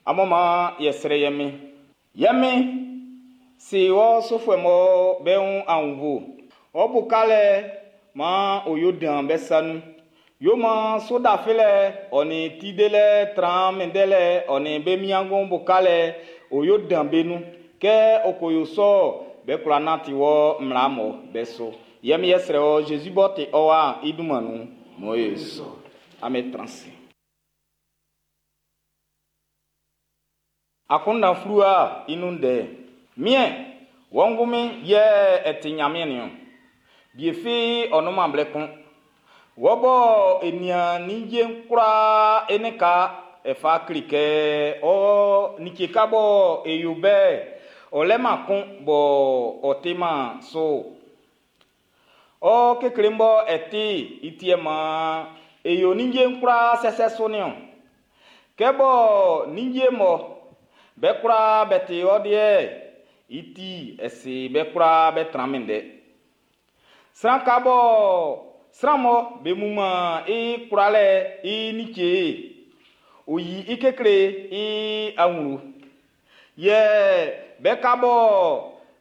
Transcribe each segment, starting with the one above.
Amun maan e srɛ ye Min. Ye Min, si wɔ sufuɛ mɔ be wun aunnvuɛ. Ɔ bu kalɛ maan ɔ yo dan be sa nun. Yo maan sudafilɛ ɔ nin ti delɛ tran minndɛlɛ ɔ nin be miangun bu kalɛ ɔ yo dan be nun. Kɛ ɔ ko yo sɔ'n, be kwla nanti wɔ mmla mɔ be su. Yɛ mi yɛ srɛ wɔ Zezi b'ɔ ti ɔ wa'n i dunman nun. Mɔ e sɔ. Amen transi. Akunndan fluwa i nun ndɛ. Miɛn, wɔ ngunmin yɛ e ti Ɲanmiɛn niɔn. Bie fi ɔ nunman blɛ kun. Wɔ bɔ e nian ninnge'n kwlaa e nika e fa kle kɛ ɔ like ka bɔ e yo bɛ'n, ɔ lɛ-man kun bɔ ɔ ti-man su. Ɔ kekle bɔ e ti i ti maan e yo ninnge'n kwlaa sɛsɛ su niɔn. Kɛ bɔ ninnge mɔ be kwlaa be ti ɔ deɛ, i ti e si be kwlaa be tran minndɛ. Sran ka bɔ sran mɔ be muman i kwlalɛ i nice, o yi i kekle i awlo. Yɛ be ka bɔ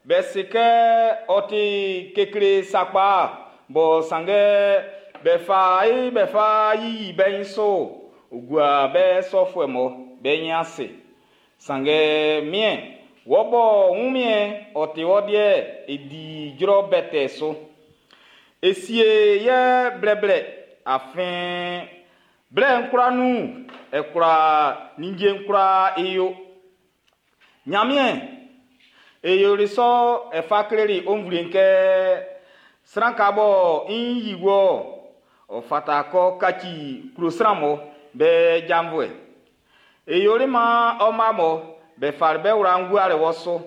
be se kɛ ɔ ti kekle sakpa bɔ sanngɛ be fa i be fa yiyi be nyin su ogua be sɔfuɛ mɔ be nyin ase. Sanngɛ miɛn, wɔ bɔ wunmiɛn ɔ ti wɔ deɛ e di jrɔ bɛtɛ su. E sie yɛ blɛblɛ afin blɛ'n kwlaa nun e kwla ninnge'n kwlaa e yo. Ɲanmiɛn, e yoli sɔ e fa kleli o nvle'n kɛ sran ka bɔ i yi wɔ ɔ fata kɔ kaci klo sran mɔ be janvuɛ. E yoli maan ɔ ma mɔ be fali be wla'n guali wɔ su.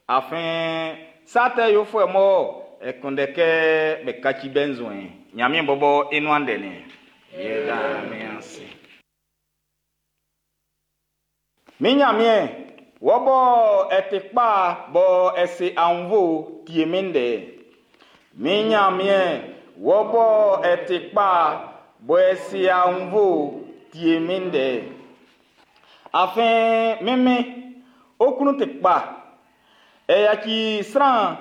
Afin sa tɛ yofuɛ mɔ e kunndɛ kɛ be kaci be nzuɛn. Ɲanmiɛn bɔbɔ i nuan ndɛ nin. Yɛ da min ase. Min Ɲanmiɛn, wɔ bɔ e ti kpa bɔ e si aunnvuɛ tie min ndɛ. Min Ɲanmiɛn, wɔ bɔ e ti kpa bɔ e si aunnvuɛ tie min ndɛ. Afin min Min, ɔ klun ti kpa. E yaci sran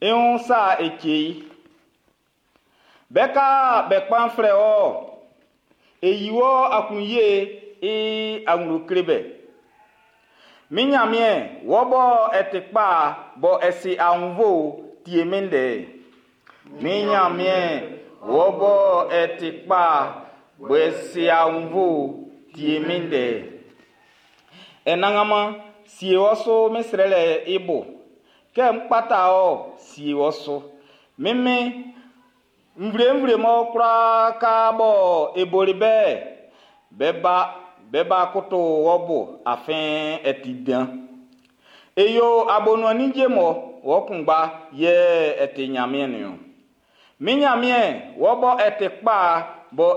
i wun sa e cɛ i. Be ka be kpan flɛ wɔ. E yi wɔ aklunye i awlo kle be. Min Ɲanmiɛn, wɔ bɔ e ti kpa bɔ e si aunnvuɛ tie min ndɛ. Min Ɲanmiɛn, wɔ bɔ e ti kpa bɔ e si aunnvuɛ tie min ndɛ. E nanganman, sie wɔ su min srɛlɛ i bo. Kɛ n kpata ɔ, sie wɔ su. Min Min, nvle-nvle mɔ kwlaa ka bɔ e boli bɛ, be ba, be ba koto wɔ bo, afin e ti dan. E yo abonuan ninnge mɔ wɔ kunngba yɛ e ti Ɲanmiɛn niɔn. Min Ɲanmiɛn, wɔ bɔ e ti kpa